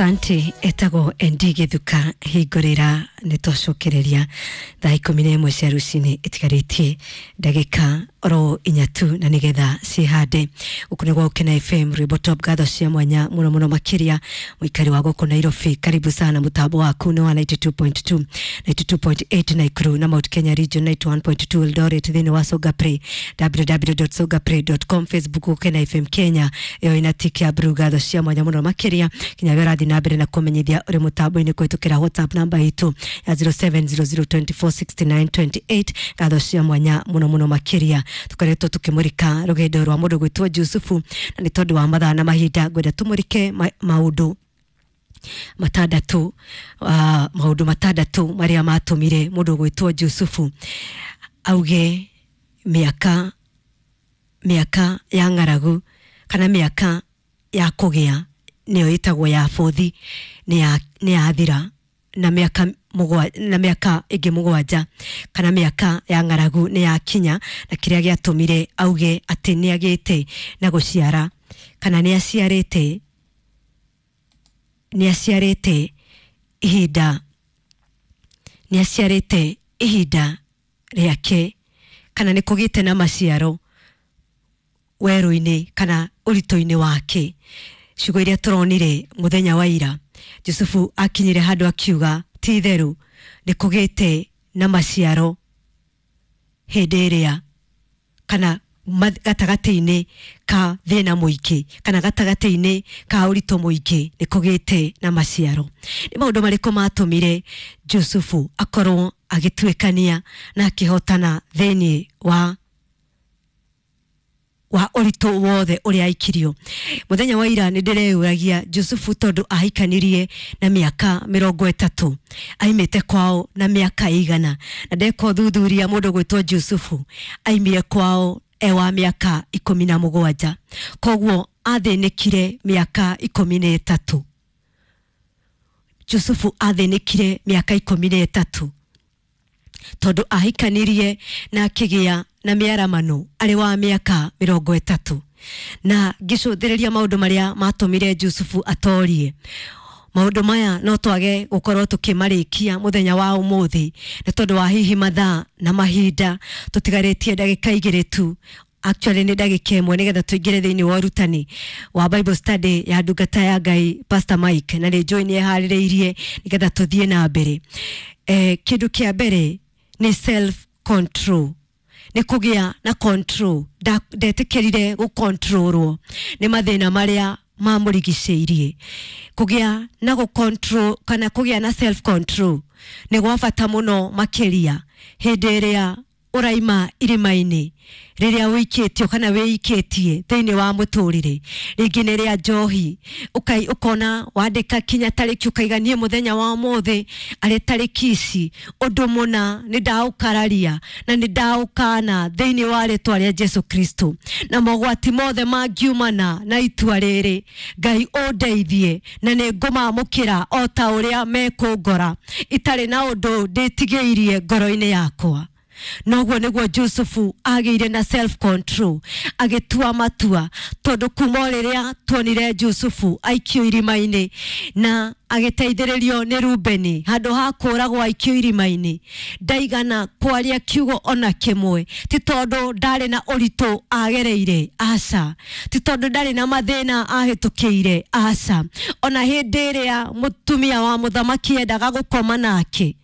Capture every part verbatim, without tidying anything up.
Asante. Etagwo Endi Githuka hingũrĩra nĩ twacokereria thaa ikũmi na ĩmwe cia rũcinĩ ĩtigarĩtie ndagĩka oro inya tu na nĩgetha cihande. Gũkũ nĩ gwa Gũkena F M, rwĩmbo top. Ngatho cia mwanya mũno mũno makĩria mũikari wa gũkũ Nairobi, karibu sana. Mũtambo waku nĩ wa ninety-two point two, ninety-two point eight Nakuru na Mount Kenya region, ninety-one point two Eldoret, thĩinĩ wa Songa Play, w w w dot songaplay dot com, Facebook Gũkena F M Kenya ĩyo ina tick ya blue. Ngatho cia mwanya mũno makĩria kinya we ũrathiĩ na mbere na kũmenyithia ũrĩ mũtambo-inĩ kũhĩtũkĩra WhatsApp namba itũ ya zero seven zero zero two four six nine two eight. Ngatho cia mwanya mũno mũno makĩria. Tũkoretwo tũkĩmũrĩka rũgendo rwa mũndũ gwĩtwo Jusufu, na nĩ tondũ wa mathaa na mahinda ngwenda tũmũrĩke ma maũndũ matandatũ, uh, maũndũ matandatũ marĩa matũmire mũndũ gwĩtwo Jusufu auge mĩaka mĩaka ya ng'aragu kana mĩaka ya kũgĩa nĩyo ĩtagwo ya bũthi nĩ yathira, na mĩaka mũgwa, na mĩaka ĩngĩ mũgwanja kana mĩaka ya ng'aragu nĩ yakinya, na kĩrĩa gĩatũmire auge atĩ nĩ agĩte na gũciara kana nĩ aciarĩte nĩ aciarĩte ihinda nĩ aciarĩte ihinda rĩake kana nĩ kũgĩte na maciaro werũ-inĩ kana ũritũ-inĩ wake. Ciugo iria tũronire mũthenya wa ira, Jusufu akinyire handũ akiuga ti itherũ nĩ kũgĩte na maciaro hĩndĩ ĩrĩa kana gatagatĩ-inĩ ka thĩna mũingĩ kana gatagatĩ-inĩ ka ũritũ mũingĩ nĩ kũgĩte na maciaro. Nĩ maũndũ marĩkũ matũmire Jusufu akorwo agĩtuĩkania na akĩhotana thĩinĩ wa wa ũritũ wothe ũrĩa aikirio? Mũthenya wa ira nĩ ndĩreyũragia, Jusufu tondũ ahikanirie na mĩaka mĩrongo ĩtatũ, aimĩte kwao na mĩaka igana? Na ndeka ũthuthuria, mũndũ gwĩtwo Jusufu aimire kwao e wa mĩaka ikũmi na mũgwanja, koguo athĩnĩkire mĩaka ikũmi na ĩtatũ. Jusufu athĩnĩkire mĩaka ikũmi na ĩtatũ tondũ ahikanirie na akĩgĩa na mĩaramano arĩ wa mĩaka mĩrongo ĩtatũ. Na ngĩcũthĩrĩria maũndũ marĩa matũmire Jusufu atorie maũndũ maya, no twage gũkorwo tũkĩmarĩkia mũthenya wa ũmũthĩ nĩ tondũ wa hihi mathaa na mahinda. Tũtigarĩtie ndagĩka igĩrĩ tu, actually nĩ ndagĩka ĩmwe, nĩgetha tũingĩre thĩinĩ wa ũrutani wa Bible study ya ndungata ya Ngai Pastor Mike, na nĩ njũĩ nĩ eharĩrĩirie nĩgetha tũthiĩ na mbere. eh, kĩndũ kĩa mbere nĩ self control, nĩ kũgĩa na control. Ndetĩkĩrire gũkontrolwo nĩ mathĩna marĩa mamũrigicĩirie. Kũgĩa na gũ kana kũgĩa na self control nĩ gwa bata mũno makĩria hĩndĩ ĩrĩa ũraima irima-inĩ rĩrĩa wĩikĩtio kana wĩikĩtie thĩinĩ wa mũtũrĩre, rĩngĩ nĩ rĩa njohi. Ũkai ũkona wandĩka kinya tarĩki, ũkaiga niĩ mũthenya wa ũmũthĩ arĩ tarĩki ici ũndũ mũna nĩ ndaũkararia na nĩ ndaũkana thĩinĩ wa rĩtwa rĩa Jesu Kristo, na mogwati mothe mangiumana na itua rĩrĩ, Ngai ũndeithie na nĩ ngũmamũkĩra o ta ũrĩa mekũngora itarĩ na ũndũ ndĩtigĩirie ngoro-inĩ yakwa. Noguo nĩguo Jusufu agĩire na self control agĩtua matua, tondũ kuma o rĩrĩa tuonire Jusufu aikio irima-inĩ na agĩteithĩrĩrio nĩ Rubeni handũ ha kũragwo aikio irima-inĩ, ndaigana kwaria kiugo ona kĩmwe. Ti tondũ ndarĩ na ũritũ agereire, aca. Ti tondũ ndarĩ na mathĩna ahĩtũkĩire, aca. Ona hĩndĩ ĩrĩa mũtumia wa mũthamaki endaga gũkoma nake,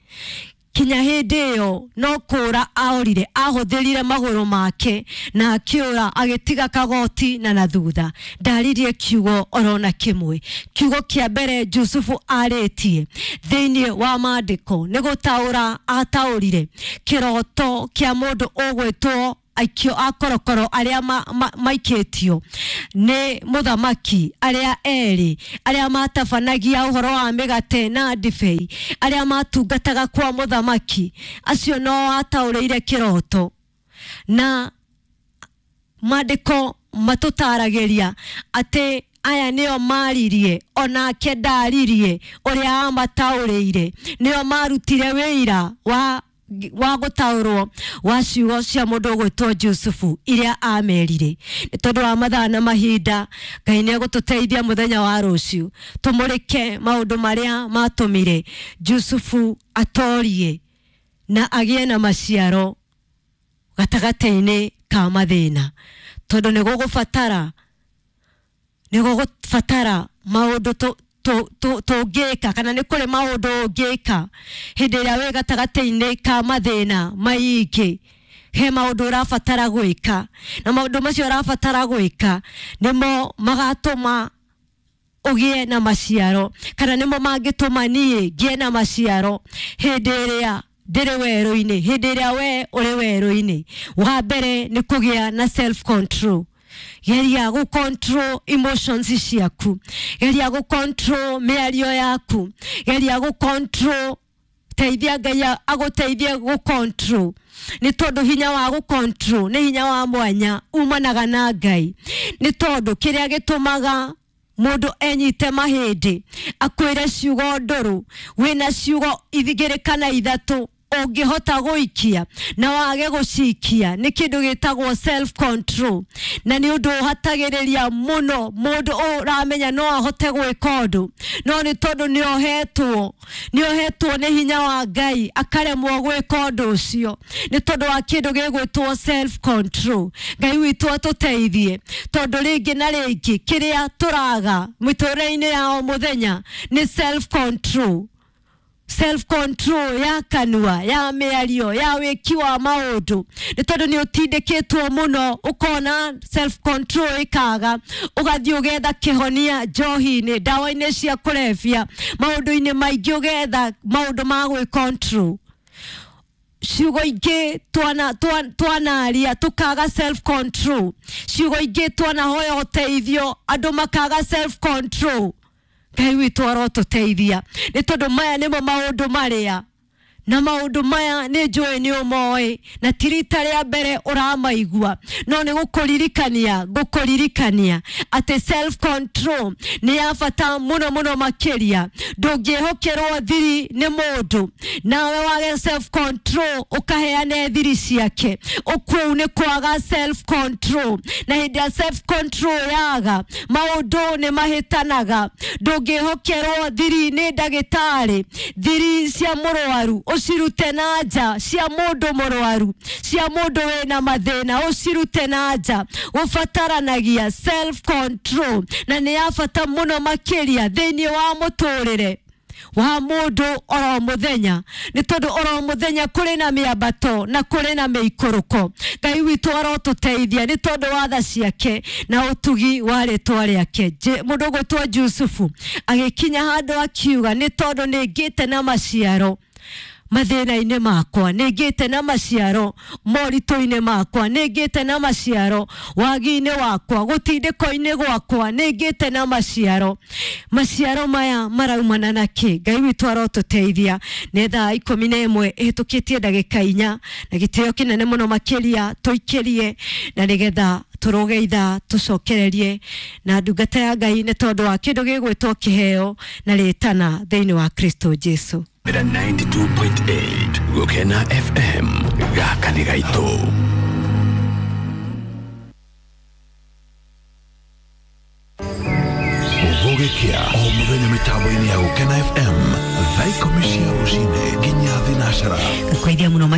kinya hĩndĩ ĩyo no kũra aorire, ahũthĩrire magũrũ make na akĩũra agĩtiga kagoti na na thutha. Ndaririe kiugo orona kĩmwe. Kiugo kĩa mbere Jusufu arĩtie thĩinĩ wa maandĩko nĩ gũtaũra ataũrire kĩroto kĩa mũndũ ũgwĩtwo aikio a korokoro arĩa ma, ma, maikĩtio nĩ mũthamaki, arĩa erĩ arĩa matabanagia ũhoro wa mĩgate na ndibei, arĩa matungataga kwa mũthamaki. Acio no ataũrĩire kĩroto, na maandĩko matũtaragĩria atĩ aya nĩo maririe, onake ndaririe ũrĩa amataũrĩire, nĩo marutire wĩira wa wa gũtaũrwo wa ciugo cia mũndũ ũgwĩtwo Jusufu iria amerire. Nĩ tondũ wa mathaa na mahinda, Ngai nĩ egũtũteithia mũthenya wa rũciũ tũmũrĩke maũndũ marĩa matũmire Jusufu atorie na agĩe na maciaro gatagatĩ-inĩ ka mathĩna, tondũ nĩ gũgũbatara nĩ gũgũbatara maũndũ tũngĩka kana nĩ kũrĩ maũndũ ũngĩka hĩndĩ ĩrĩa wĩ gatagatĩ-inĩ ka mathĩna maingĩ. He maũndũ ũrabatara gwĩka, na maũndũ macio ũrabatara gwĩka nĩmo magatũma ũgĩe na maciaro, kana nĩmo mangĩtũma niĩ ngĩe na maciaro hĩndĩ ĩrĩa ndĩrĩ werũ-inĩ, hĩndĩ ĩrĩa we ũrĩ werũ-inĩ. Wa mbere nĩ kũgĩa na self control. Geria gũ control emotions ciaku, geria gũ control mĩario yaku, geria gũ control, teithia Ngai agũteithie gũ control, nĩ tondũ hinya wa gũ control nĩ hinya wa mwanya umanaga na Ngai. Nĩ tondũ kĩrĩa gĩtũmaga mũndũ enyite mahĩndĩ akwĩre ciugo ndũrũ, wĩna ciugo igĩrĩ kana ithatũ ũngĩhota gũikia na wage gũcikia, nĩ kĩndũ gĩtagwo self control, na nĩ ũndũ ũhatagĩrĩria mũno mũndũ ũramenya no ahote gwĩka ũndũ, no nĩ tondũ nĩ ohetwo nĩ ohetwo nĩ hinya wa Ngai akaremwo gwĩka ũndũ ũcio nĩ tondũ wa kĩndũ gĩgwĩtwo self control. Ngai witũ atũteithie, tondũ rĩngĩ na rĩngĩ kĩrĩa tũraga mĩtũrĩre-inĩ ya o mũthenya nĩ self control. Self control ya kanua, ya mĩario, ya wĩki wa maũndũ, nĩ tondũ nĩ ũtindĩkĩtwo mũno ũkona self control ĩkaga, ũgathiĩ ũgetha kĩhonia njohi-inĩ, ndawa-inĩ cia kũrebia, maũndũ-inĩ maingĩ ũgetha maũndũ ma gwĩ control. Ciugo ingĩ twana twanaria tukaga self control, ciugo ingĩ twanahoya ũteithio andũ makaga self control. Ngai witũ arotũteithia, nĩ tondũ maya nĩmo maũndũ marĩa, na maũndũ maya nĩ njũĩ nĩ ũmoĩ, na ti rita rĩa mbere ũramaigua, no nĩ gũkũririkania ngũkũririkania atĩ self control nĩ ya bata mũno mũno makĩria. Ndũngĩhokerwo thiri nĩ mũndũ nawe wage self control ũkaheane thiri ciake, ũkũu nĩ kwaga self control. Na hĩndĩ ya self control yaga, maũndũ nĩ mahĩtanaga. Ndũngĩhokerwo thiri nĩ ndagĩtarĩ, thiri cia mũrwaru ũcirute na nja, cia mũndũ mũrwaru, cia mũndũ wĩna mathĩna ũcirute na nja. Ũbataranagia self control, na nĩ ya bata mũno makĩria thĩinĩ wa mũtũrĩre wa mũndũ oro mũthenya, nĩ tondũ oro mũthenya kũrĩ na mĩambato na kũrĩ na mĩikũrũko. Ngai witũ arotũteithia nĩ tondũ wa tha ciake na ũtugi wa rĩtwa rĩake. Mũndũ ũgwĩtwo Jusufu agĩkinya handũ akiuga, nĩ tondũ nĩ ngĩte na maciaro mathĩna-inĩ makwa, nĩ ngĩte na maciaro moritũ-inĩ makwa, nĩ ngĩte na maciaro wagi-inĩ wakwa, gũtindĩko-inĩ gwakwa, nĩ ngĩte na maciaro. Maciaro maya maraumana na kĩ? Ngai witũ arotũteithia. Nĩ thaa ikũmi na ĩmwe ĩhĩtũkĩtie ndagĩka inya, na gĩtĩo kĩnene mũno makĩria tũikĩrie, na nĩgetha tũrũge ithaa tũcokererie na ndungata ya Ngai nĩ tondũ wa kĩndũ gĩgwĩtwo kĩheo na rĩtana thĩinĩ wa Kristo Jesu. ninety-two point eight Gukena F M gaka nĩ gaitũ. Gũgĩkĩa o mũthenya mĩtambo-inĩ ya Gukena F M thaa ikũmi cia rũcinĩ nginya thinacara. Ngũkũithia mũno.